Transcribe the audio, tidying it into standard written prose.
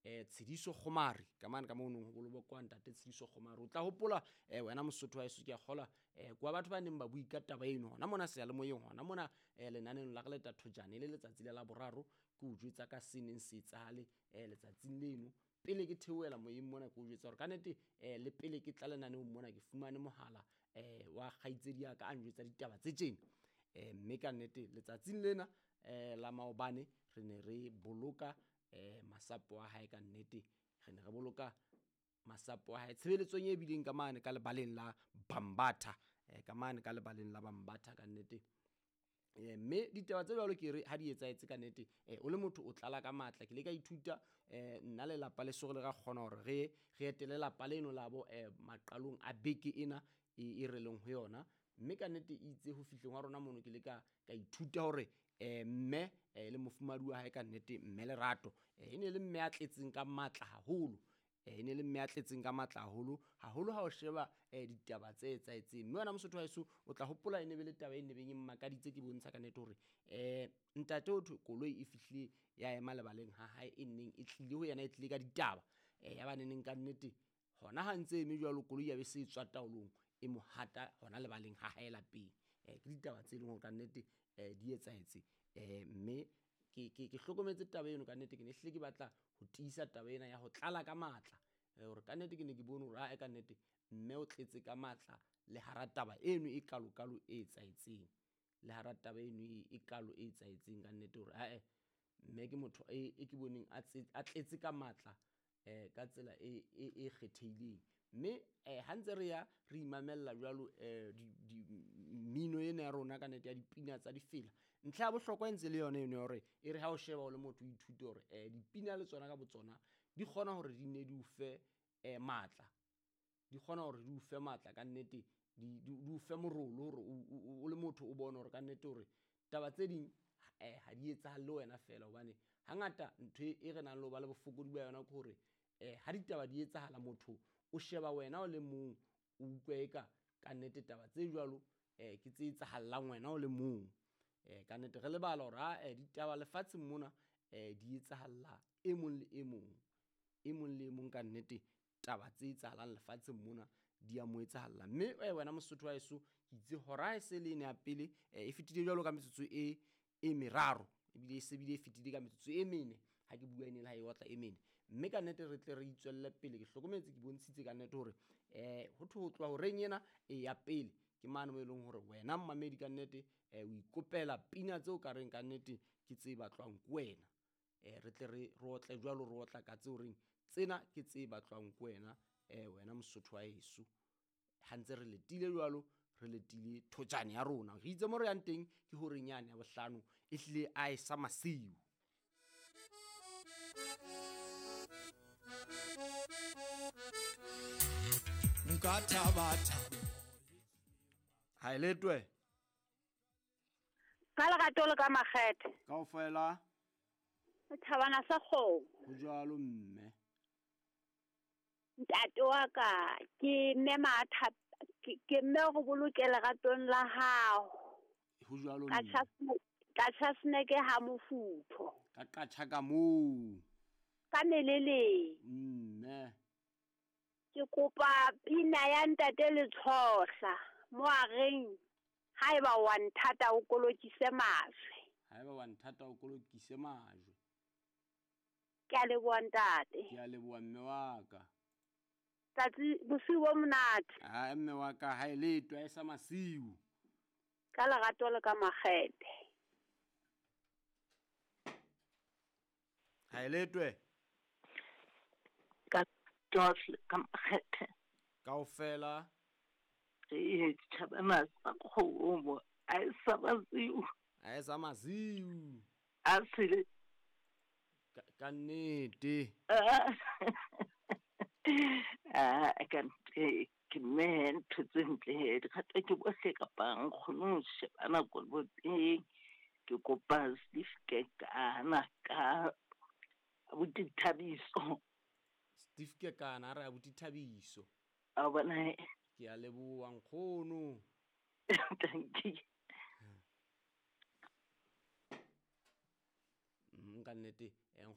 Tshediso Kgomari ka mane ka moo nong ho bolokwa ntate Tshediso Kgomari. O tla hopola wena Mosotho wa heso, ke a kgola kwa batho ba neng ba bui ka taba eno hona mona seyalemoyeng, hona mona lenaneong la re leta thojane le letsatsi la Laboraro, ke o jwetsa ka se neng se etsahale letsatsing leno. Pele ke theohela moyeng mona, ke o jwetsa hore ka nnete le pele ke tla lenaneong mona, ke fumane mohala wa kgaitsedi ya ka a njwetsa ditaba tse tjena. Mme ka nnete letsatsing lena la maobane re ne re boloka masapo a hae, ka nnete re ne re boloka masapo a hae tshebeletsong e bileng ka mane ka lebaleng la Bambatha, ka mane ka lebaleng la Bambatha, ka nnete. Mme ditaba tse jwalo ke re ha di etsahetse, ka nnete o le motho o tlala ka matla. Ke le ka ithuta nna lelapa le so re le ra kgona hore re etele lapa leno labo maqalong a beke ena e re leng ho yona. Mme ka nnete itse ho fihleng wa rona mono, ke le ka ithuta hore mme le mofumahadi wa hae, ka nnete mme Lerato, e ne le mme a tletseng ka matla haholo, e ne le mme a tletseng ka matla haholo haholo ha o sheba ditaba tse etsahetseng. Mme wena Mosotho wa heso, o tla hopola e ne be le taba e ne beng e mmakaditse, ke bontsha ka nnete hore ntate o thwe koloi e fihlile ya ema lebaleng ha hae, e neng e tlile ho yena, e tlile ka ditaba, ya ba neneng ka nnete hona ha ntse eme jwalo, koloi ya be se tswa taolong, e mo hata hona lebaleng ha hae lapeng. Ke ditaba tse leng hore ka nnete di etsahetse. Mme ke hlokometse taba eno, ka nnete ke ne hlile ke batla ho tiisa taba ena ya ho tlala ka matla, hore ka nnete ke ne ke bone hore ae ka nnete mme o tletse ka matla le hara taba eno e kalokalo e etsahetseng, le hara taba eno e kalo e etsahetseng, ka nnete hore ae mme ke motho e ke boneng a tletse ka matla ka tsela e kgethehileng. Mme ha ntse re ya re imamella jwalo mmino ena ya rona, ka nnete ya dipina tsa difela, ntlha ya bohlokwa e ntse le yona eno ya hore e re ha o sheba o le motho o ithute hore dipina le tsona ka botsona di kgona hore di ne di o fe matla, di kgona hore di o fe matla, ka nnete di o fe morolo hore o le motho o bone hore ka nnete hore taba tse ding ha di etsahale le wena fela. Hobane hangata ntho e re nang le ho ba le bofokodi ba yona ke hore ha ditaba di etsahala, motho o sheba wena o le mong, o utlwa eka ka nnete taba tse jwalo ke tse etsahallang wena o le mong. Ka nnete re lebala hore ha ditaba lefatsheng mona di etsahalla e mong le e mong, e mong le e mong, ka nnete taba tse etsahalang lefatsheng mona di a mo etsahalla. Mme wena Mosotho wa heso, ke itse hora e se le ene ya pele e fetile jwalo ka metsotso e meraro, ebile e se bile e fetile ka metsotso e mene ha ke bua, ene le ha e otla e mene. Mme ka nnete re tle re itswelle pele, ke hlokometse, ke bontshitse ka nnete hore ho thwe ho tloha horeng ena e ya pele ke mane mo e leng hore wena mmamedi ka nnete o ikopela pina tseo ka reng ka nnete ke tse batlwang ke wena. Re tle re otle jwalo, re otla ka tseo reng tsena ke tse batlwang ke wena, wena Mosotho wa heso. Ha ntse re letile jwalo, re letile thojane ya rona, re itse mo re yang teng ke horeng yane ya bohlano, e hlile a e sa masiu. Nka thaba. Ha e letwe ka lerato le ka makgethe. Kaofela thabana sa kgomo. Ho jwalo mme. Ntate wa ka ke mme matha, ke mme go boloke leratong la hao. Ho jwalo mme. Ka tjhasneke ha mofutho. Ka qatjha ka moo. Ka meleleng. Mme. Ke kopa pina ya ntate Letshohla mo a reng haeba wa nthata o kolokise majwe. Haeba wa nthata o kolokise majwe. Ke a leboha ntate. Ke a leboha mme wa ka. Tsatsi bosiu bo monate. Ha mme wa ka ha e letwa e sa masiu. Ka lerato le ka makgethe. Ha e letwe. Ka tsohle ka makgethe. Kaofela. E thabana sa kgomo a e sa masiu. A e sa masiu. A sele ka nnete. A ka nte ke mme ntho tse ntle di kgata ke bohle kapa nkgono ho shebana koloboteng. Ke kopa Steve Kekana ka abuti Thabiso. Steve Kekana a re abuti Thabiso. A bona. Ke a leboha nkgono. Thank you. Ka nnete nkgono.